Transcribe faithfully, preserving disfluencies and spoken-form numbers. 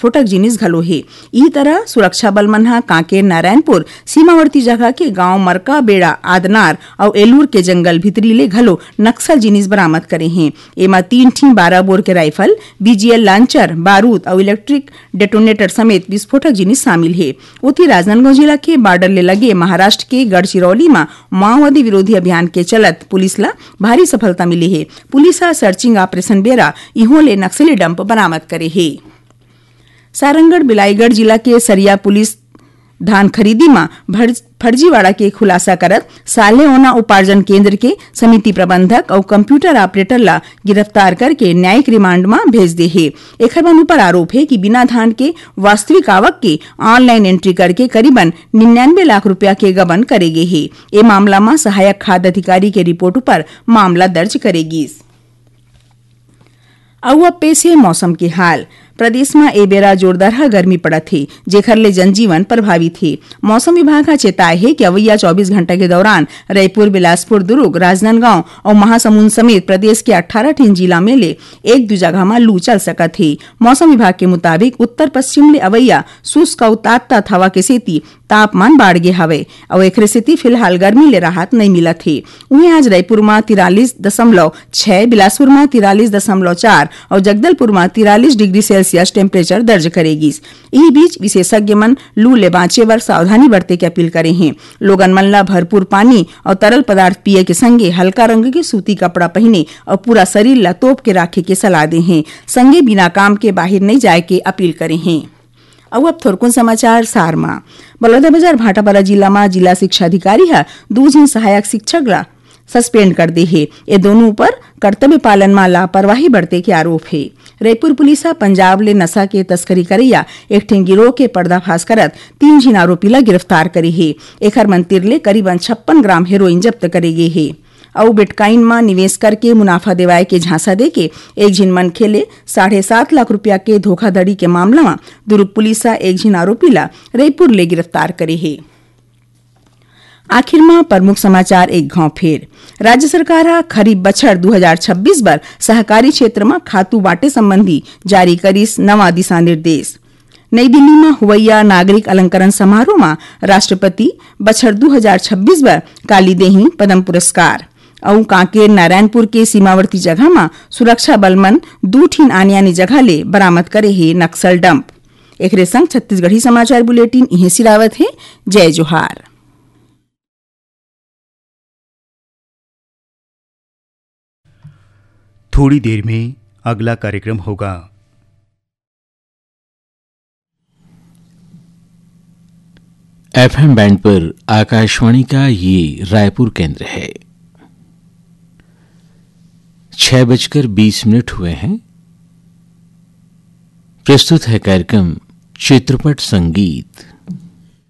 विस्फोटक जिनिस घलो हे। इही तरह सुरक्षा बल मन ह कांकेर नारायणपुर सीमावर्ती जगह के गांव मरका बेड़ा, आदनार अउ एलूर के जंगल भीतरी ले घलो नक्सल जिनिस बरामद करे हे। एमा तीन ठिन बारह बोर के राइफल, बीजीएल लांचर, बारूद अउ इलेक्ट्रिक डेटोनेटर समेत विस्फोटक जिनिस शामिल हे। ओती राजनांदगांव जिला के बॉर्डर ले लगे महाराष्ट्र के गढ़चिरौली म माओवादी विरोधी अभियान के चलत पुलिस ल भारी सफलता मिले हे। पुलिस ह सर्चिंग ऑपरेशन बेरा इहों ले नक्सली डंप बरामद करे हे। सारंगढ़ बिलाईगढ़ जिला के सरिया पुलिस धान खरीदी म भर-, फर्जीवाड़ा के खुलासा करत साले ओना उपार्जन केंद्र के समिति प्रबंधक अउ कंप्यूटर ऑपरेटर ला गिरफ्तार करके न्यायिक रिमांड म भेज दे हे। एखर मन ऊपर आरोप हे कि बिना धान के वास्तविक आवक के ऑनलाइन एंट्री करके करीबन निन्यानवे लाख रुपया के गबन करे गे हे। ए मामला म सहायक खाद्य अधिकारी के रिपोर्ट ऊपर मामला दर्ज करे गिस। अउ अब पेश हे मौसम के हाल। प्रदेश म ए बेरा जोरदार गर्मी पड़त हे, जेखर ले जनजीवन प्रभावित हे। मौसम विभाग ह चेताय हे कि अवइया चौबीस घंटा के दौरान रईपुर, बिलासपुर, दुर्ग, राजनांदगांव अउ महासमुंद समेत प्रदेश के अट्ठारह ठिन जिला में ले एक दू जगह म लू चल सकत हे। मौसम विभाग के मुताबिक उत्तर पश्चिम ले अवइया शुष्क अउ तात-तात हवा के सेती तापमान बाढ़ गे हवय अउ एखरे सेती फिलहाल गर्मी ले राहत नइ मिलत हे। उहें, आज रायपुर म तिरालीस दशमलव छह, बिलासपुर म तिरालीस दशमलव चार अउ जगदलपुर म तिरालीस डिग्री सेल्सियस टेम्परेचर दर्ज करे गिस। इही बीच, विशेषज्ञ मन लू ले बांचे बर सावधानी बरते के अपील करे हें। लोगन मन ल भरपूर पानी अउ तरल पदार्थ पिए के संगे हल्का रंग के सूती कपड़ा पहिने अउ पूरा शरीर ल तोप के राखे के सलाह दे हें। संगे बिना काम के बाहिर नइ जाए के अपील करे हें। अउ अब थोरकुन समाचार सार म। बलौदाबाजार भाटापारा जिला म जिला शिक्षा अधिकारी ह दू झिन सहायक शिक्षक ला सस्पेंड कर दे हे। ए दोनों ऊपर कर्तव्य पालन म लापरवाही बरते के आरोप हे। रईपुर पुलिस ह पंजाब ले नशा के तस्करी करइया एक ठिन गिरोह के पर्दाफाश करत तीन झिन आरोपी ला गिरफ्तार करे हे। एखर मन तिर ले करीबन छप्पन ग्राम हेरोइन जब्त करे गे हे। अउ बिटकॉइन म निवेश करके मुनाफा देवाए के झांसा देके एक झिन मनखे ले साढ़े सात लाख रुपया के धोखाधड़ी के मामला म दुर्ग पुलिस ह एक झिन आरोपी ला रईपुर ले गिरफ्तार करे हे। आखिर म प्रमुख समाचार एक घांव फेर। राज्य सरकार ह खरीफ बछर दू हजार छब्बीस बर सहकारी क्षेत्र म खातू बांटे संबंधी जारी करिस नवा दिशा निर्देश। नई दिल्ली म होवइया नागरिक अलंकरण समारोह म राष्ट्रपति बछर दू हजार छब्बीस बर काली देही पद्म पुरस्कार। अउ कांकेर नारायणपुर के सीमावर्ती जगह म सुरक्षा बल मन दू ठिन आने-आने जगह ले बरामद करे हे नक्सल डंप। एकरे संग छत्तीसगढ़ी समाचार बुलेटिन इहें सिरावत हे। जय जोहार। थोड़ी देर में अगला कार्यक्रम होगा। एफएम बैंड पर आकाशवाणी का ये रायपुर केंद्र है। छह बजकर बीस मिनट हुए हैं। प्रस्तुत है कार्यक्रम चित्रपट संगीत।